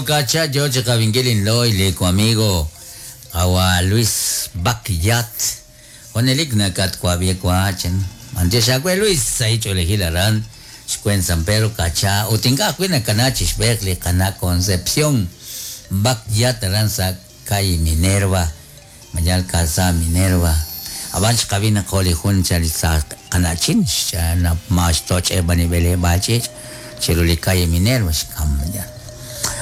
Kacha yo chiqab'inkil inlo'y li wamigo qawa' Luis Bakyat. Junelik nakatwab'i wa chan. B'antiox aawe Luis, sahil ch'oolejil aran xwen San Pedro Kacha ut ink'a' ajwi' nakana chixb'eeq li qana' Concepción Bakyat aran sa' calle Minerva, mayal Calzada Minerva. Ab'an xqab'i naq jo' li jun cha li sa qana'chin ma xtoch'e b'an li b'eleb'aal ch'iich' chiru li calle Minerva xkam mayal.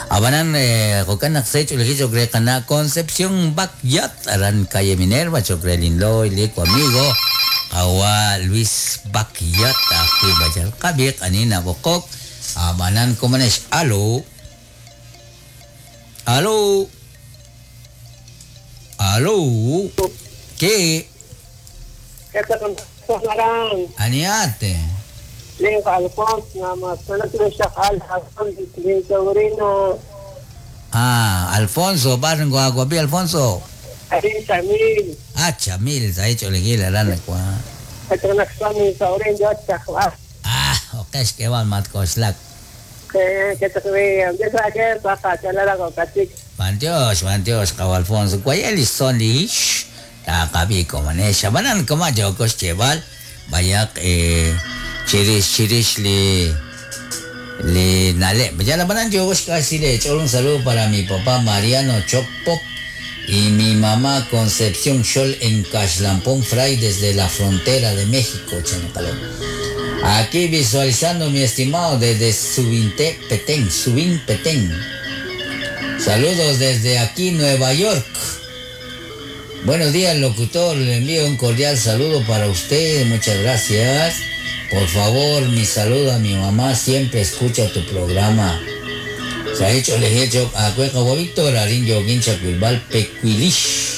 Ab'anan jo'kan naq se ch'oolejil cho'q re qana' Concepción Bakyat aran calle Minerva cho'q re linlo'y li wamigo qawa' Luis Bakyat ajwi' mayal qab'iq ani nab'oqok ab'anan komonex alo alo alo ke Aniate. Ah, Alfonso, barrio Guaguapi, Alfonso. Ah, Chamil, sa hecho elegir la rana kwa. Ah, ok, es que van matkoslak. Mantios, mantios, kaw Alfonso. Kwayeli son lish. Takabi ko manesha. Banan kama jokos chebal. Bayak chirish chirish li li nale. Ya la banan jokos casi le echo un saludo para mi papá Mariano Chocpop y mi mamá Concepción Xol en Caxlampón Fray desde la frontera de México, Chanacalón. Aquí visualizando mi estimado desde Subinte Petén, Subín Petén. Saludos desde aquí, Nueva York. Buenos días, locutor. Le envío un cordial saludo para usted. Muchas gracias. Por favor, mi saludo a mi mamá. Siempre escucha tu programa. Se ha hecho, le he hecho a Cueca Víctor, Arin Yoguin Chacuilbal, Pecuilish.